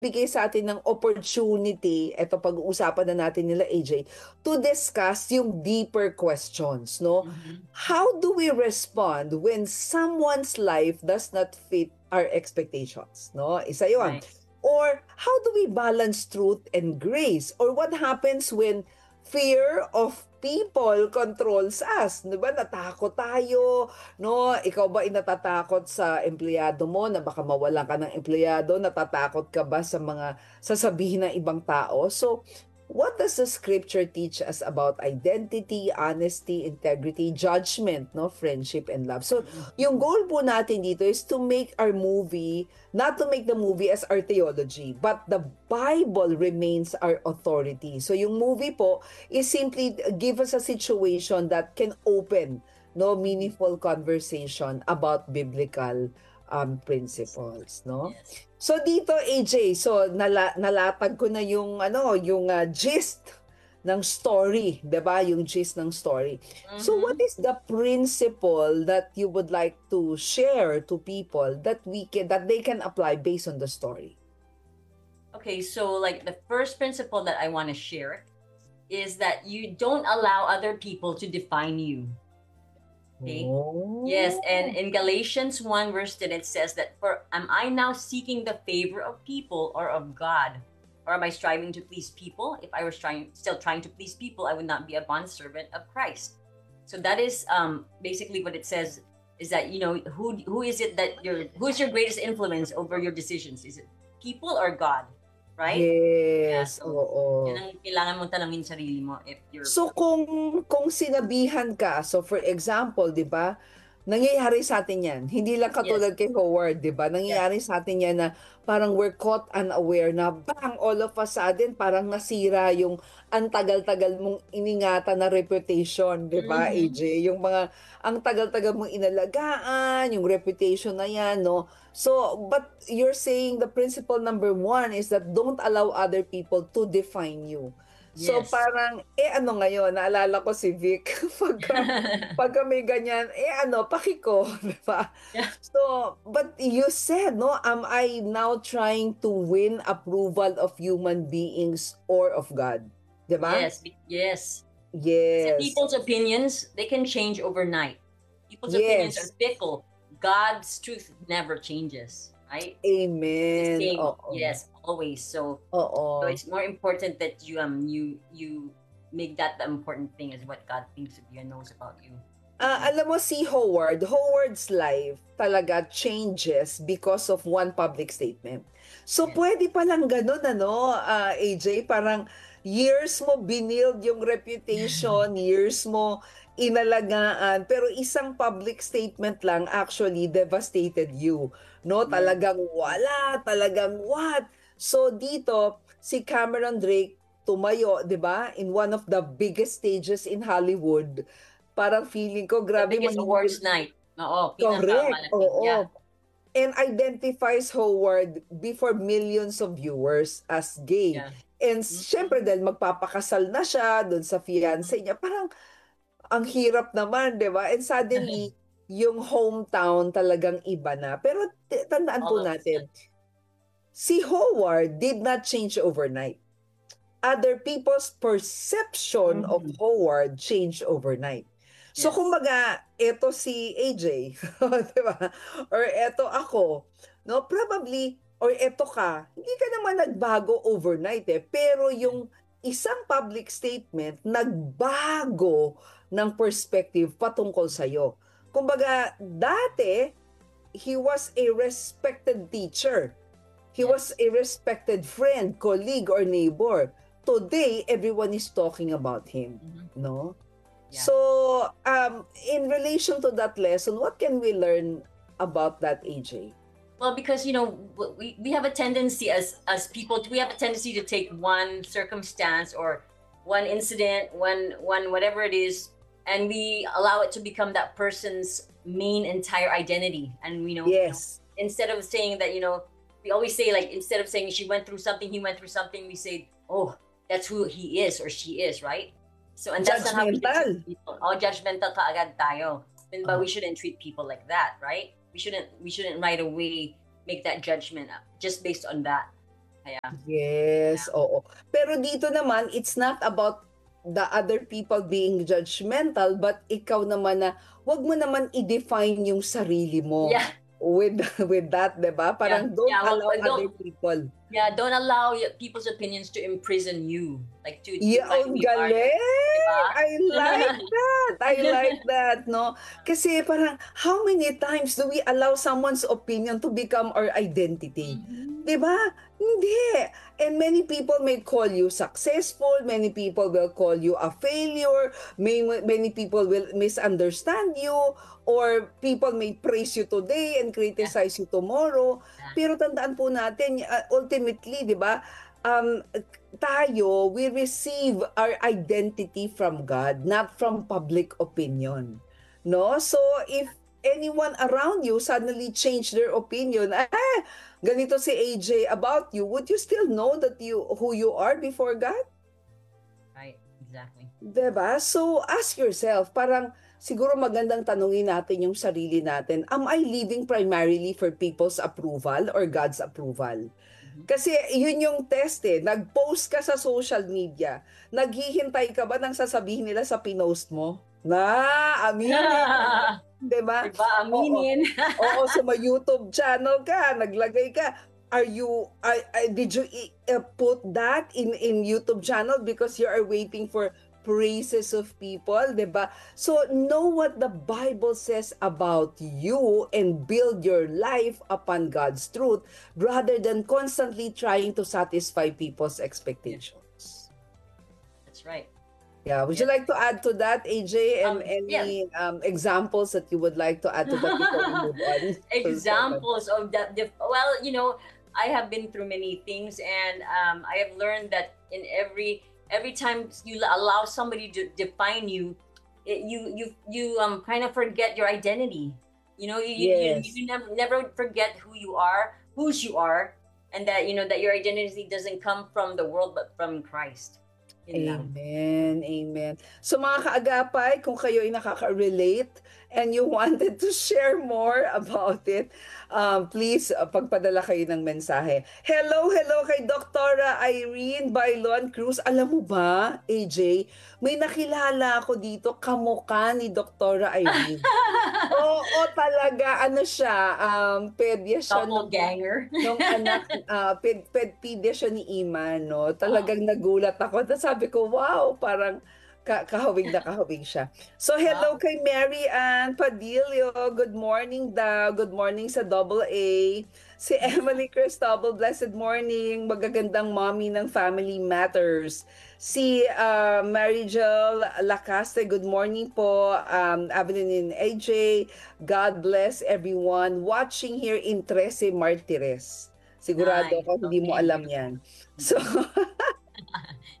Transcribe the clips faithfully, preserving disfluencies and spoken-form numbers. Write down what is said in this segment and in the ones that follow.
nagbibigay sa atin ng opportunity, eto pag-uusapan na natin nila A J, to discuss yung deeper questions, no? Mhm. How do we respond when someone's life does not fit our expectations, no? Isa yun. Right. Or how do we balance truth and grace? Or what happens when fear of people controls us? Di ba? Natakot tayo, no? Ikaw ba ay natatakot sa empleyado mo na baka mawalan ka ng empleyado? Natatakot ka ba sa mga sasabihin ng ibang tao? So, what does the scripture teach us about identity, honesty, integrity, judgment, no, friendship, and love? So, yung goal po natin dito is to make our movie, not to make the movie as our theology, but the Bible remains our authority. So, yung movie po is simply give us a situation that can open, no, meaningful conversation about biblical um, principles, no? Yes. So dito, A J, so nala- nalatag ko na yung ano, yung ah, gist ng story, 'di ba? Yung gist ng story. So Mhm. what is the principle that you would like to share to people that we can that they can apply based on the story? Okay, so like the first principle that I want to share is that you don't allow other people to define you. Okay? Oh. Yes, and in Galatians one verse ten, it says that, "For am I now seeking the favor of people or of God? Or am I striving to please people? If I was trying, still trying to please people, I would not be a bondservant of Christ." So that is um, basically what it says, is that, you know, who who is it that your who's your greatest influence over your decisions? Is it people or God? Right? Yes, so, oo. Yan ang kailangan mong tanungin sarili mo if you're So kung kung sinabihan ka, so for example, 'di ba? Nangyayari sa atin 'yan. Hindi lang Yes. katulad kay Howard, 'di ba? Nangyayari sa atin 'yan na parang we're caught unaware na bang, all of a sudden parang nasira yung ang tagal-tagal mong iningatan na reputation, 'di ba, Mhm. A J? Yung mga ang tagal-tagal mong inalagaan, yung reputation na 'yan, no? So, but you're saying the principle number one is that don't allow other people to define you. So Yes. parang, eh ano ngayon, naalala ko si Vic, pagka, pagka may ganyan, eh ano, paki ko, di ba? Yeah. So, but you said, no, am I now trying to win approval of human beings or of God? Di ba? Yes, be- yes. Yes. People's opinions, they can change overnight. People's opinions Yes. are fickle. God's truth never changes, right? It's the Amen. same. Oo. Yes, always. So, Oo. so it's more important that you um you you make that the important thing, is what God thinks of you and knows about you. Ah, alam mo si Howard, Howard's life talaga changes because of one public statement. So Yes. pwede pa lang ganun, ano, ah, A J, parang years mo binild yung reputation, years mo inalagaan, pero isang public statement lang actually devastated you, no? Yes. Talagang wala, talagang what? So dito, si Cameron Drake tumayo, 'di ba? In one of the biggest stages in Hollywood. Parang feeling ko, The grabe, biggest mahirap. Awards night. Oo, Correct, pinakamalaki. oo. Yeah. And identifies Howard before millions of viewers as gay. Yeah. And Mm-mm. syempre, dahil magpapakasal na siya doon sa fiancé niya, parang ang hirap naman, 'di ba? And suddenly, yung hometown talagang iba na. Pero t- tandaan po All of a natin, sudden. si Howard did not change overnight. Other people's perception of Mhm. Howard changed overnight. So, Yes. kumbaga, eto si A J, di ba? Or eto ako, no? Probably, or eto ka, hindi ka naman nagbago overnight eh. Pero yung isang public statement, nagbago ng perspective patungkol sa'yo. Kumbaga, dati, he was a respected teacher. He Yes. was a respected friend, colleague, or neighbor. Today, everyone is talking about him, Mhm. no? Yeah. So, um, in relation to that lesson, what can we learn about that, A J? Well, because, you know, w- we, we have a tendency as as people, we have a tendency to take one circumstance or one incident, one one whatever it is, and we allow it to become that person's main entire identity. And, you know, Yes. instead of saying that, you know, we always say, like, instead of saying she went through something, he went through something, we say, "Oh, that's who he is or she is," right? So, and that's not how we should Judgmental. treat people. Oh, judgmental kaagad tayo. Then, but Ah. we shouldn't treat people like that, right? We shouldn't we shouldn't right away make that judgment up just based on that. Kaya, Yes, oo. Pero dito naman, it's not about the other people being judgmental, but ikaw naman na, wag mo naman i-define yung sarili mo Yeah. with with that, 'di ba? Parang don't Yeah, wag- allow don't- other people. Yeah, don't allow y- people's opinions to imprison you. Like to Yeah, define ang who you are. galing! Diba? I like that! I like that, no? Kasi parang, how many times do we allow someone's opinion to become our identity? Mhm. Di ba? Hindi. And many people may call you successful, many people will call you a failure, may, many people will misunderstand you, or people may praise you today and criticize you tomorrow. Pero tandaan po natin, uh, ultimately, di ba, um, tayo, we receive our identity from God, not from public opinion. No? So, if anyone around you suddenly change their opinion, ah, ganito si A J about you, would you still know that you who you are before God? Right, exactly. Diba? So, ask yourself, parang siguro magandang tanungin natin yung sarili natin, am I living primarily for people's approval or God's approval? Kasi yun yung test eh. Nag-post ka sa social media. Naghihintay ka ba ng sasabihin nila sa pinost mo? Na, aminin. Diba? Diba? Aminin. Oo, sa may YouTube channel ka, naglagay ka. Are you, I, I, did you i- uh, put that in, in YouTube channel because you are waiting for praises of people, diba? So know what the Bible says about you and build your life upon God's truth rather than constantly trying to satisfy people's expectations. That's right. Yeah, would you like to add to that, A J, and Um, any um, examples that you would like to add to that before we move on? Examples of that. Dif- well, you know, I have been through many things, and um, I have learned that in every every time you l- allow somebody to define you, it, you you you um kind of forget your identity. You know, you you, you, Yes. you never never forget who you are, whose you are, and that you know that your identity doesn't come from the world but from Christ. Yun lang. Amen. Amen. So mga kaagapay, kung kayo ay nakaka-relate and you wanted to share more about it, um, please uh, pagpadala kayo ng mensahe. Hello, hello kay Doktora Irene Bailon Cruz. Alam mo ba, A J, may nakilala ako dito, kamukha ni Doktora Irene. Oo, talaga, ano siya, um, pedya siya nung, Doppelganger. nung anak, ah, ped, ped, pedya siya ni Iman, no? Talagang nagulat ako. Tapos sabi ko, wow, parang ka kahawig na kahawig siya. So, hello kay Mary Ann Padillo. Good morning daw. Good morning sa Double A. Si Emily Cristobal, blessed morning. Magagandang mommy ng Family Matters. Si ah, Mary Jill Lacaste, good morning po. Um, Evelyn and A J, God bless everyone watching here in Trece Martires. Sigurado Nice. ako hindi mo Okay. alam yan. So,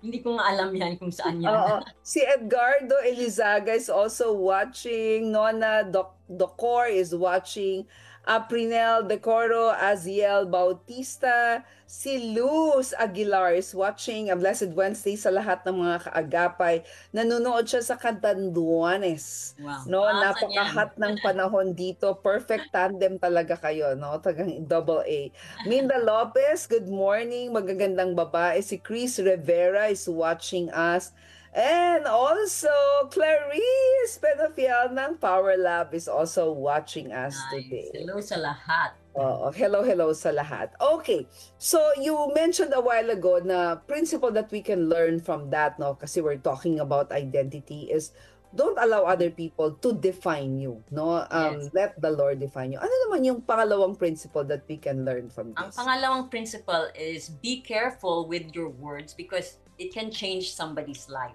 Hindi ko nga alam yan kung saan yan. Oo. Si Edgardo Elizaga is also watching. Nona Doc Docor is watching. Aprinel Decoro, Aziel Bautista, si Luz Aguilar is watching. A blessed Wednesday sa lahat ng mga kaagapay. Nanonood siya sa Catanduanes. Wow. No, Ah, saan napaka-hot ng panahon dito. Perfect tandem talaga kayo, no? Tagang double A. Minda Lopez, good morning. Magagandang babae. Si Chris Rivera is watching us. And also, Clarice Pedofiel ng Power Lab is also watching us Nice. today. Hello sa lahat. Oo, hello, hello sa lahat. Okay, so you mentioned a while ago na principle that we can learn from that, no? Kasi we're talking about identity is don't allow other people to define you, no? Um, Yes. Let the Lord define you. Ano naman yung pangalawang principle that we can learn from Ang this? pangalawang principle is be careful with your words because it can change somebody's life.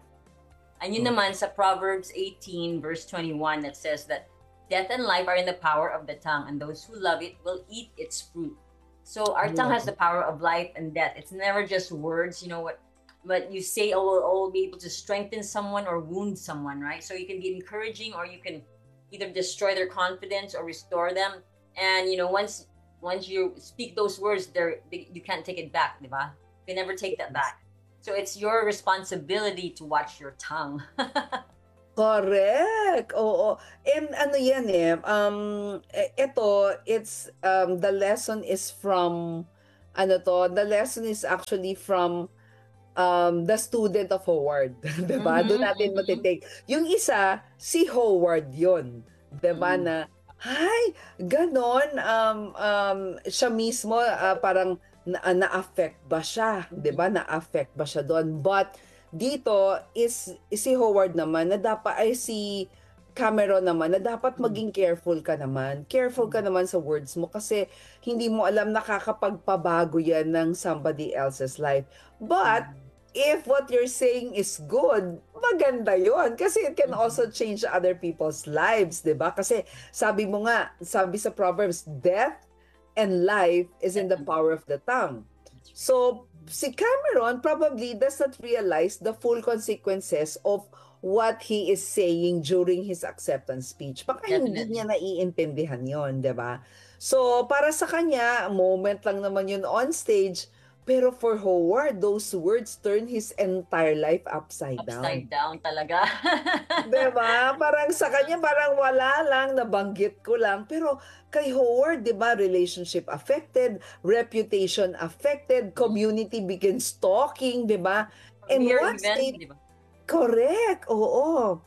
And yun Oh. naman sa Proverbs eighteen verse twenty-one that says that death and life are in the power of the tongue, and those who love it will eat its fruit. So our tongue has the power of life and death. It's never just words, you know what, what you say will all be able to strengthen someone or wound someone, right? So you can be encouraging, or you can either destroy their confidence or restore them. And you know, once once you speak those words, they're, they, you can't take it back, di ba? You can never take that back. So it's your responsibility to watch your tongue. Correct. Oo. And ano yan eh, um, e- ito, it's, um, the lesson is from ano to, the lesson is actually from, um, the student of Howard. Diba? Doon Mhm, natin mhm. matitake. Yung isa, si Howard yun. Diba? Mm. Na, ay, ganon, um, um, siya mismo, ah, parang na- ah, na-affect ba siya? Diba? Na-affect ba siya doon? But dito is si Howard naman na dapat, ay, si Cameron naman na dapat Mm. maging careful ka naman. Careful ka naman sa words mo kasi hindi mo alam, nakakapagpabago yan ng somebody else's life. But Mm. if what you're saying is good, maganda yon kasi it can Mhm. also change other people's lives, di ba? Kasi sabi mo nga, sabi sa Proverbs, death and life is in the power of the tongue. So, si Cameron probably does not realize the full consequences of what he is saying during his acceptance speech. Baka hindi Definitely. niya naiintindihan yon, di ba? So, para sa kanya, moment lang naman yun on stage, pero for Howard, those words turn his entire life upside down. Upside down talaga. Diba? Parang sa kanya, parang wala lang, nabanggit ko lang. Pero kay Howard, di ba, relationship affected, reputation affected, community begins talking, di ba? And Mere one event, state, di ba? Correct, oo.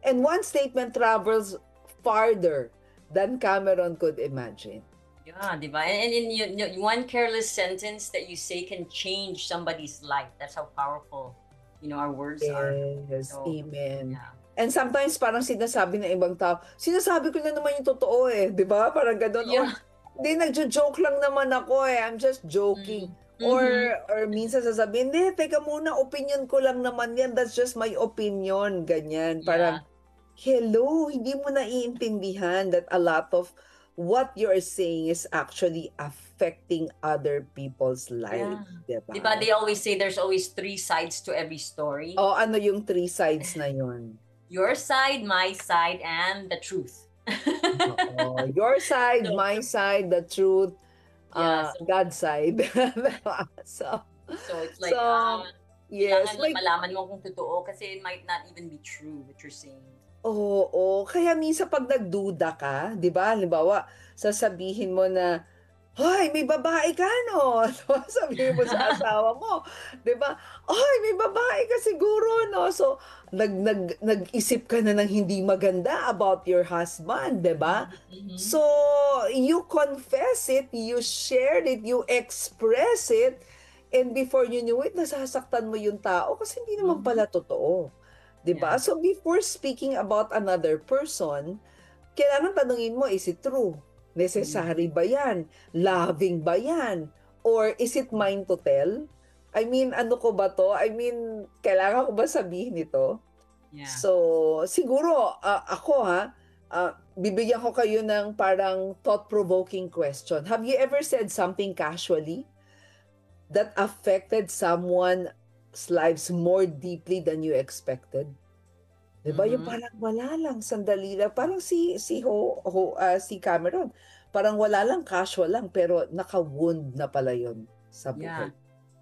And one statement travels farther than Cameron could imagine. Yeah, di ba? And, and in you, you- one careless sentence that you say can change somebody's life. That's how powerful, you know, our words are. Yes, So, amen. Yeah. And sometimes parang sinasabi ng ibang tao, sinasabi ko lang naman yung totoo eh, di ba? Parang ganun. Or, Yeah. hindi, nagjo-joke lang naman ako eh, I'm just joking. Mm. Or, Mhm. or minsan sasabihin, hindi, teka muna, opinion ko lang naman yan, that's just my opinion, ganyan. Parang, Yeah. hello, hindi mo naiintindihan that a lot of what you're saying is actually affecting other people's life, Yeah. di ba? Di ba they always say there's always three sides to every story? O ano yung three sides na yun? Your side, my side, and the truth. Oo. Your side, So, my side, the truth, yeah, uh, so, God's side. So, so it's like, so, ah, yes, kailangan may, malaman mo kung totoo kasi it might not even be true what you're saying. Oo, kaya minsan pag nagduda ka, di ba? Halimbawa, sasabihin mo na, "Hoy, may babae ka, no?" Sabihin mo sa asawa mo, di ba? "Hoy, may babae ka siguro, no?" So, nag, nag, nag-isip ka na ng hindi maganda about your husband, di ba? Mhm. So, you confess it, you share it, you express it, and before you knew it, nasasaktan mo yung tao kasi hindi naman Mhm. pala totoo. Di ba? Yeah. So, before speaking about another person, kailangan tanungin mo, is it true? Necessary Mhm. ba yan? Loving ba yan? Or is it mine to tell? I mean, ano ko ba to? I mean, kailangan ko ba sabihin ito? Yeah. So, siguro, ah, ako ha, ah, bibigyan ko kayo ng parang thought-provoking question. Have you ever said something casually that affected someone's lives more deeply than you expected? Di ba? Yung Mhm. parang wala lang, sandali lang. Parang si, si Ho, Ho, ah, si Cameron, parang wala lang, casual lang, pero naka-wound na pala yun sa Yeah. buhay.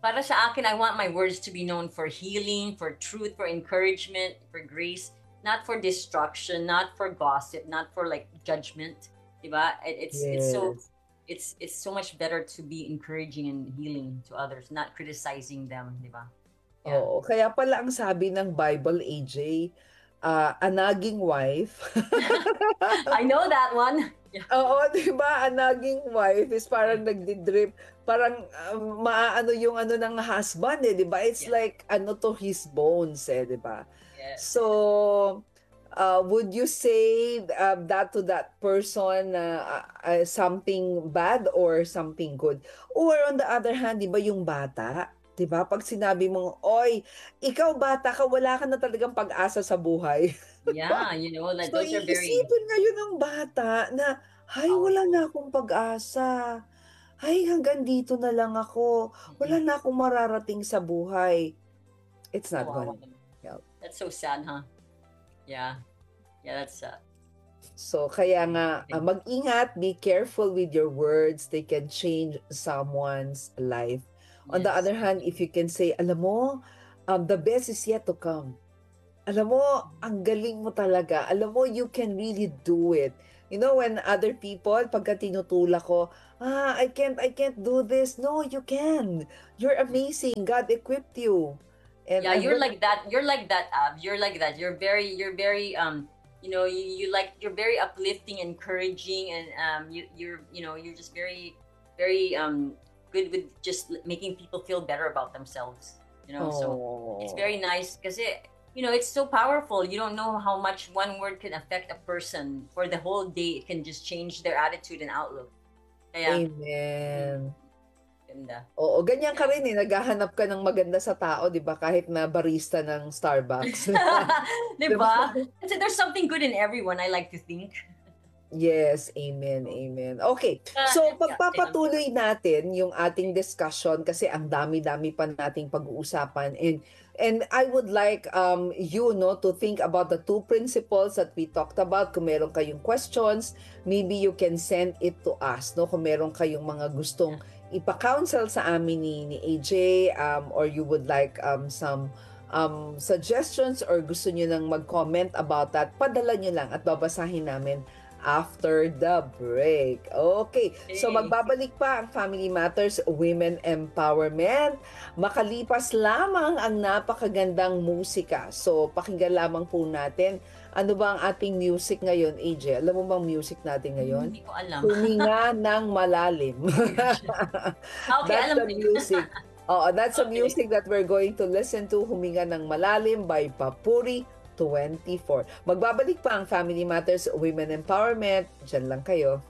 Para sa akin, I want my words to be known for healing, for truth, for encouragement, for grace, not for destruction, not for gossip, not for, like, judgment. Di ba? It, it's, it's so, Yes. it's, it's so much better to be encouraging and healing to others, not criticizing them, di ba? Yeah. Oo, kaya pala ang sabi ng Bible, A J, ah, a nagging wife. I know that one. Yeah. Oo, di ba? A nagging wife is parang Yeah. nagdi-drip. Parang, ah, maaano yung ano ng husband eh, di ba? It's Yeah. like ano to his bones eh, di ba? Yes. So, uh, would you say, uh, that to that person na, uh, uh, something bad or something good? Or on the other hand, di ba yung bata? Di ba? Pag sinabi mong, "Oy, ikaw bata ka, wala ka na talagang pag-asa sa buhay." Yeah, you know, like, So, those are very iisipin ngayon ng bata na, "Ay, wala powerful. na akong pag-asa. Ay, hanggang dito na lang ako. Wala Mm-mm. na akong mararating sa buhay." It's not Kawawa gonna naman. Help. That's so sad, huh? Yeah. Yeah, that's sad. So, kaya nga, Okay. ah, mag-ingat, be careful with your words. They can change someone's life. On the Yes. other hand, if you can say, "Alam mo, um, the best is yet to come. Alam mo, ang galing mo talaga. Alam mo, you can really do it." You know, when other people, pagka tinutulak ko, "Ah, I can't, I can't do this." No, you can. You're amazing. God equipped you. And Yeah, I you're heard- like that. You're like that, Av. You're like that. You're very, you're very, um, you know, you, you like, you're very uplifting, encouraging, and um, you, you're, you know, you're just very, very um, good with just l- making people feel better about themselves. You know, so it's Oh. very nice because it, you know, it's so powerful. You don't know how much one word can affect a person for the whole day. It can just change their attitude and outlook. Kaya, Amen. ganda. Oo, ganyan ka rin eh. Naghahanap ka ng maganda sa tao, di ba? Kahit na barista ng Starbucks. Diba? Kasi there's something good in everyone, I like to think. Yes, amen, amen. Okay, Ah, so yeah, pagpapatuloy natin yung ating discussion kasi ang dami-dami pa nating pag-uusapan, and and I would like um you know to think about the two principles that we talked about. Kung meron kayong questions, maybe you can send it to us, no? Kung meron kayong mga gustong ipa-counsel sa amin ni, ni A J, um, or you would like um some um suggestions or gusto nyo nang mag-comment about that, padala nyo lang at babasahin namin after the break. Okay. So Okay. Magbabalik pa ang Family Matters Women Empowerment. Makalipas lamang ang napakagandang musika. So pakinggan lamang po natin. Ano ba ang ating music ngayon, A J? Alam mo bang music natin ngayon? Hindi ko alam. Huminga ng malalim. Okay, That's alam the ko yun. Music. Oo, that's the Okay. Music that we're going to listen to, Huminga ng Malalim by Papuri twenty-four. Magbabalik pa ang Family Matters Women Empowerment. Diyan lang kayo.